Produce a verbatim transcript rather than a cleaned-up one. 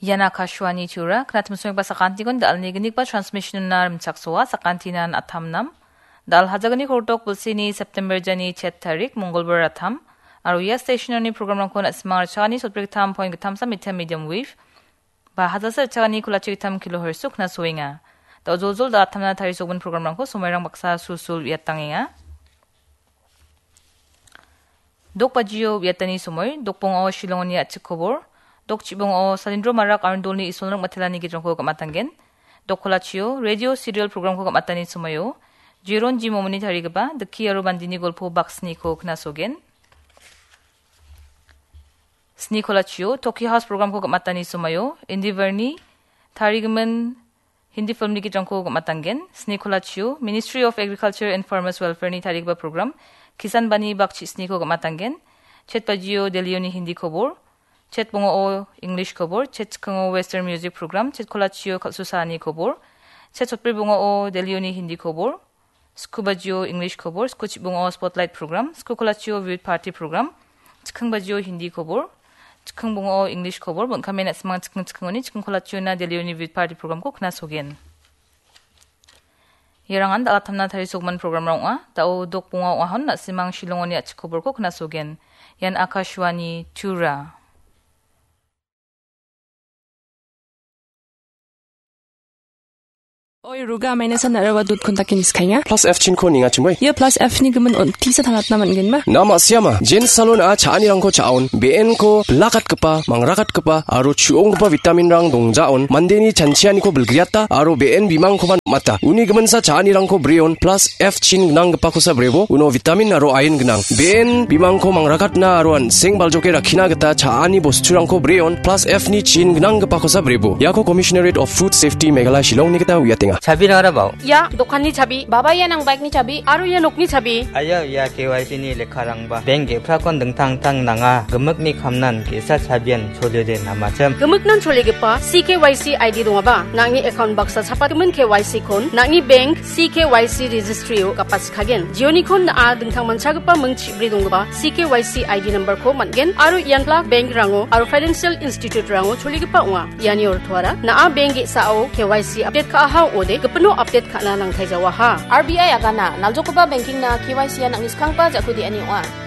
Ian Akashvani Tura, knatimsmekba sakantikon dal·ni gnikba transmission-ona rimchaksoa, sakantinan atamnam. Dal hajagni kordok bilsini September jani chet tarik, Mongolbar atam. Aro ia station-oni programrangko na·simang rachani sotbrik tam point gittamsa meter medium wave, ba hajasa rachani kolachi gittam kilohertz-o knasoenga. Da·o joljol da·atamna tarisokbin programrangko somoirang baksa sulsul uiatangenga. Dok bajio uiatani somoi, dok bongao Shillongoni a·chik kobor, dok chibongao Salindro Marak Arundolni Isolrang Matelani gitrangko gam·atanggen, dok kolachio radio serial programko gam·atani somoio, Jeron G. Momoni tarigipa Dikki aro Bandini golpo baksniko knasogen. Sni kolachio Tokyo House programko gam·atani somoio, Indiverni tarigimin Hindi filmni gitrangko gam·atanggen, sni kolachio Ministry of Agriculture and Farmers Welfare-ni tarigipa program, Kisan Bani bakchi sniko gam·atanggen, chet bajio Delhioni Hindi kobor, chet bongao English kobor, chet chikingo Western music program, chet kolachio kal·susaani kobor, chet sotbri bongao Delhioni Hindi kobor, sku bajio English kobor, sku chibongao Spotlight program, sku kolachio Vivid Party program, chiking bajio Hindi kobor, chiking bongao English kobor, bon·kame na·simang chiking chikingoni chiking kolachiona Delhioni Vivid Party programko knasogen. Iarangan dal·atamna tarisokman programrang ong·a. Da·o dok bonga ong·ahon na·simang Shillongoni a·chik koborko knasogen. Ian Akashvani Tura. Oi, Ruga, maina san araba dot kun takin iskainga. Plus F chinko ninga chimoi. Ia plus F ni gimin on tisa tangatna man gen ma? Nama siama, Jen Salon a cha·anirangko cha·on, be·enko bilakatgipa, mangrakatgipa, aro chu·onggipa vitamin-rang dongjaon, mandeni chanchianiko bilgriata, aro be·en bimangkoba mata. Uni giminsa cha·anirangko breon, plus F chin gnanggipakosa brebo, uno vitamin aro iron gnang. Be·en bimangko mangrakatna aro an·seng baljoke rakkina gita cha·ani bosturangko breon, plus F ni chin gnanggipakosa brebo. Iako Commissionerate of Food Safety Meghalaya Shillongni gita uiatenga. Chabirang arabao. Ia dokanni chabi, baba ia nang bike-ni chabi, aro ia nokni chabi. Aia, ia K Y C ni lekkarangba. Bank ge·prakon dingtang-tang nanga. Gimikni kamnan ge·sa chabian choliode namachim. Gimiknan choligipa C K Y C I D dongaba, nang·ni account baksa chapatgimin K Y C-kon, nang·ni bank C K Y C registry-o gapachikagen. Jionikon na·a dingtang manchagipa ming chibri donggipa C K Y C I D number-ko man·gen aro ian bla bank-rango aro financial institute-rango choligipa ong·a. Iani ortoara, na·a bank ge·sao K Y C update ka·aha ong·ode, gipino update ka·na nangtai jawaha. R B I agana, naljokgipa banking-na K Y C-a nang·ni skanggipa ja·ku de·ani ong·a.